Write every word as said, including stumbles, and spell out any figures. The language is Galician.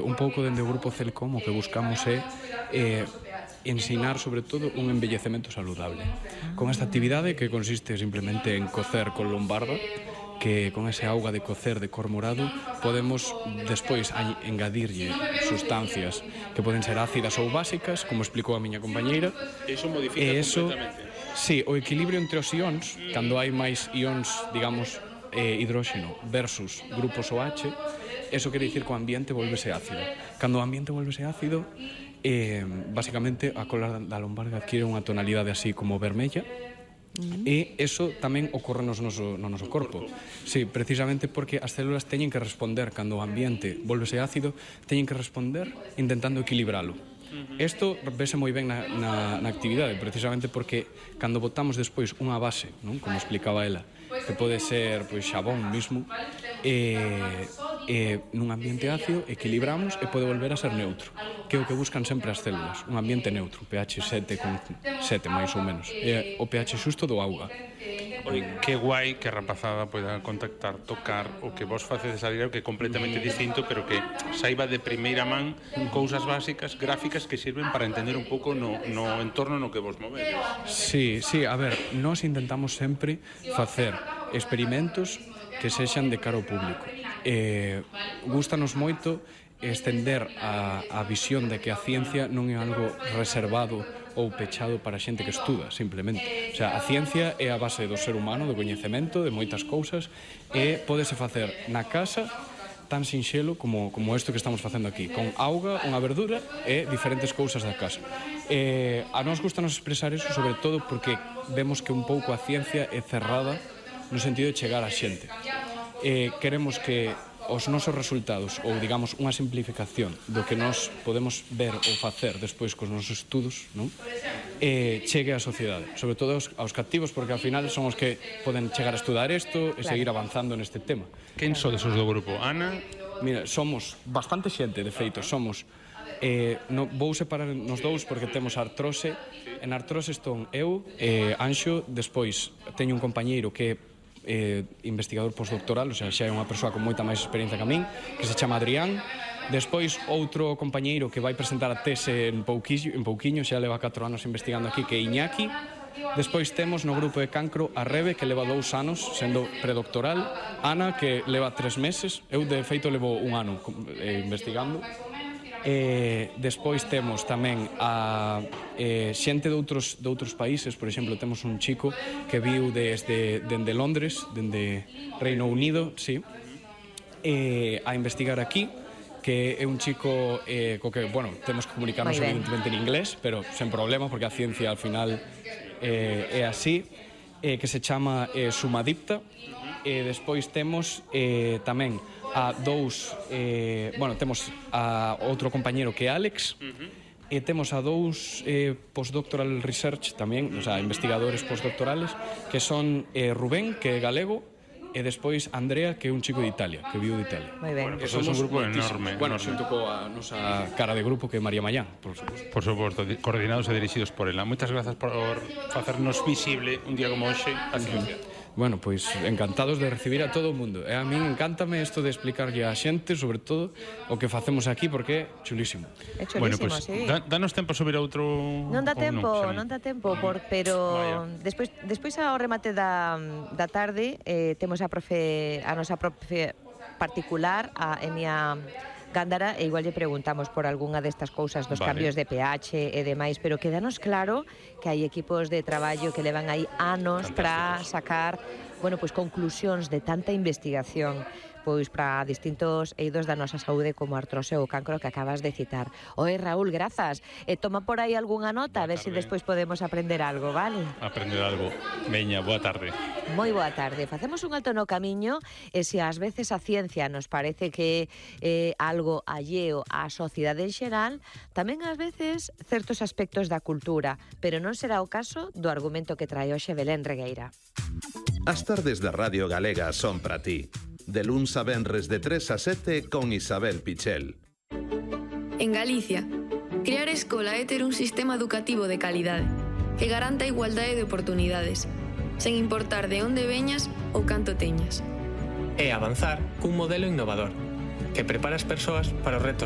un pouco dende o grupo Celcom o que buscamos é eh, ensinar sobre todo un envellecemento saludable con esta actividade que consiste simplemente en cocer con lombarda, que con ese auga de cocer de cor morado podemos despois engadirlle sustancias que poden ser ácidas ou básicas, como explicou a miña compañeira. Eso modifica e eso, completamente. Sí, o equilibrio entre os ións, cando hai máis ións, digamos, eh, hidróxeno versus grupos OH, eso quere dicir que o ambiente volvese ácido. Cando o ambiente volvese ácido, eh, basicamente a cola da lombarda adquire unha tonalidade así como vermella. E eso tamén ocorre no noso, no noso corpo. Sí, precisamente porque as células teñen que responder cando o ambiente volvese ácido, teñen que responder intentando equilibralo. Isto vese moi ben na, na, na actividade, precisamente porque cando botamos despois unha base, non? Como explicaba ela, que pode ser pois, xabón mismo, e, e nun ambiente ácido equilibramos e pode volver a ser neutro, que é o que buscan sempre as células, un ambiente neutro, pH sete con sete máis ou menos, é o pH xusto do auga. Oi, que guai que a rapazada poida contactar, tocar o que vos facedes a diario, que é completamente distinto, pero que saiba de primeira man cousas básicas, gráficas que sirven para entender un pouco no, no entorno no que vos movedes. Sí, sí, a ver, nós intentamos sempre facer experimentos que sexan de cara ao público. Eh, gústanos moito estender a, a visión de que a ciencia non é algo reservado ou pechado para a xente que estuda, simplemente. O sea, a ciencia é a base do ser humano, do coñecemento, de moitas cousas, e pódese facer na casa tan sinxelo como, como isto que estamos facendo aquí, con auga, unha verdura e diferentes cousas da casa. Eh, a nós gustanos expresar eso, sobre todo porque vemos que un pouco a ciencia é cerrada no sentido de chegar a xente. Eh, queremos que os nosos resultados, ou digamos unha simplificación do que nós podemos ver ou facer despois cos nosos estudos, non? Eh, chegue á sociedade, sobre todo aos, aos captivos, porque ao final son os que poden chegar a estudar isto e claro, seguir avanzando neste tema. Quen sodes os do grupo? Ana? Mira, somos bastante xente, de feito, somos eh, no, vou separar nos dous porque temos artrose. En artrose estou eu, eh, Anxo, despois teño un compañeiro que é Eh, investigador postdoctoral, o sea, xa é unha persoa con moita máis experiencia que a min, que se chama Adrián. Despois outro compañeiro que vai presentar a tese en pouquiño, en pouquiño, xa leva catro anos investigando aquí, que é Iñaki. Despois temos no grupo de cancro a Rebe, que leva dous anos sendo predoctoral, Ana, que leva tres meses, eu de feito levo un ano eh, investigando. Eh, despois temos tamén a eh, xente de outros, de outros países. Por exemplo, temos un chico que viu desde dende Londres, dende Reino Unido, sí, eh, a investigar aquí, que é un chico eh, co que, bueno, temos que comunicarnos evidentemente en inglés, pero sen problema, porque a ciencia al final eh, é así, eh, que se chama eh, Sumadipta. E eh, despois temos eh, tamén a dous, eh, bueno, temos a outro compañero que é Alex, uh-huh. e temos a dous eh, postdoctoral research tamén, o sea, investigadores postdoctorales, que son eh, Rubén, que é galego, e despois Andrea, que é un chico de Italia, que viu de Italia. Moi ben. Bueno, pues somos un grupo enorme. Bueno, xunto coa nosa cara de grupo, que é María Mayán, por suposto. Por suposto, coordinados e dirixidos por ela. Moitas grazas por facernos visible un día como hoxe a ciencia. Bueno, pois encantados de recibir a todo o mundo. E a min encántame isto de explicarlle a xente, sobre todo, o que facemos aquí, porque é chulísimo. É chulísimo, bueno, pues, sí. Da, danos tempo a subir a outro... Non dá tempo, non, non dá tempo, por, pero despois, despois ao remate da, da tarde eh, temos a profe, a nosa profe particular, a Enia Gándara, e igual lle preguntamos por algunha destas cousas dos vale. cambios de pH e demais, pero quédanos claro que hai equipos de traballo que levan aí anos para sacar, bueno, pois conclusións de tanta investigación, pois para distintos eidos da nosa saúde como a artrose ou cancro que acabas de citar. Oe, Raúl, grazas. E toma por aí algunha nota, a ver se si despois podemos aprender algo, vale? Aprender algo. Veña, boa tarde. Moi boa tarde. Facemos un alto no camiño e se ás veces a ciencia nos parece que é eh, algo alleo á sociedade en xeral, tamén ás veces certos aspectos da cultura, pero non será o caso do argumento que trae hoxe Belén Regueira. As tardes da Radio Galega son para ti. De luns a venres de tres a sete con Isabel Pichel. En Galicia, crear escola é ter un sistema educativo de calidade que garanta a igualdade de oportunidades, sen importar de onde veñas ou canto teñas. É avanzar cun modelo innovador que prepara as persoas para os retos